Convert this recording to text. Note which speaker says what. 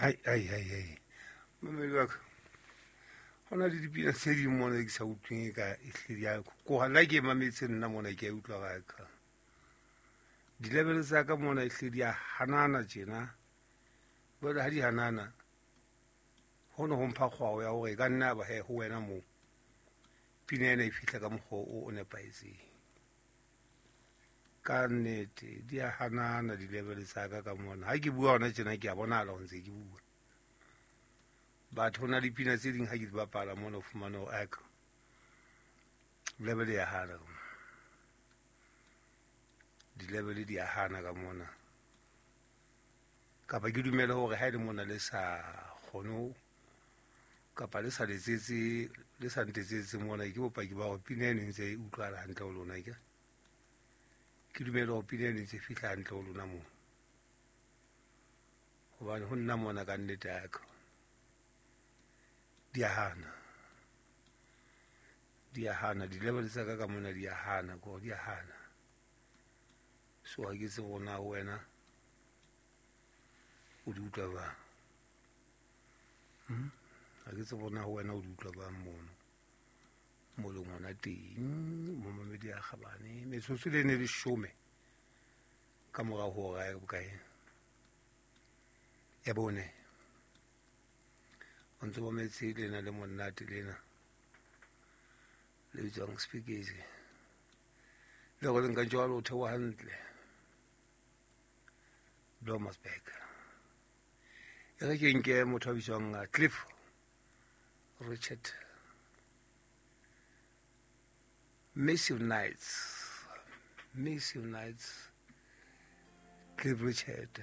Speaker 1: Hai hai hai hai, mamedi wa ka, go na le dipina tse ding mona ke sa utlweng e ka ehlile ya koga. Nna ke mametse, nna mona ke a utlwa ga ka di-level tsa ka mona ehlile di a hanana tjena. Jwale ha di hanana, ho ne ho mpha kgwao ya hore e ka nna ba he ho wena moo pina ena e fihla ka mokgwa o nepahetseng. Ka nnete di a hanana di-level tsa ka ka mona. Ha ke bua hona tjena, ke a bonahala ho ntse ke bua. Batho, ho na le pina tse ding ha ke di bapala mona, o fumane hore aka level ya hana, di-level di a hana ka mona. Kapa ke dumele hore ha e le mona le sa kgone kapa le sa letsetse, le sa ntetsetse mona, ke bopaki ba hore pina eno e ntse e utlwahala hantle ho lona. Ke dumele hore pina eno e ntse e fihla hantle ho lona moo, hobane ho nna mona ka nnete ya ka di a hana, di a hana di-level tsa ka ka mona, di a hana ko di a hana. So ha ke tsebe hore na wena o di utlwa jwang. Ha ke tsebe hore na wena o di utlwa jwang mono mo leng hona teng. Momamedi ya kgabane, metsotso le ne leshome ka morao ho hora ya bokae? Ya bone. O ntse mametse lena le monate lena le bitswang Speakeasy, le go leng ka jwalo o theoha hantle Blomersburg. E re ke nke motho a bitswang Cliff Richard, Massive Nights, Massive Nights, Cliff Richard.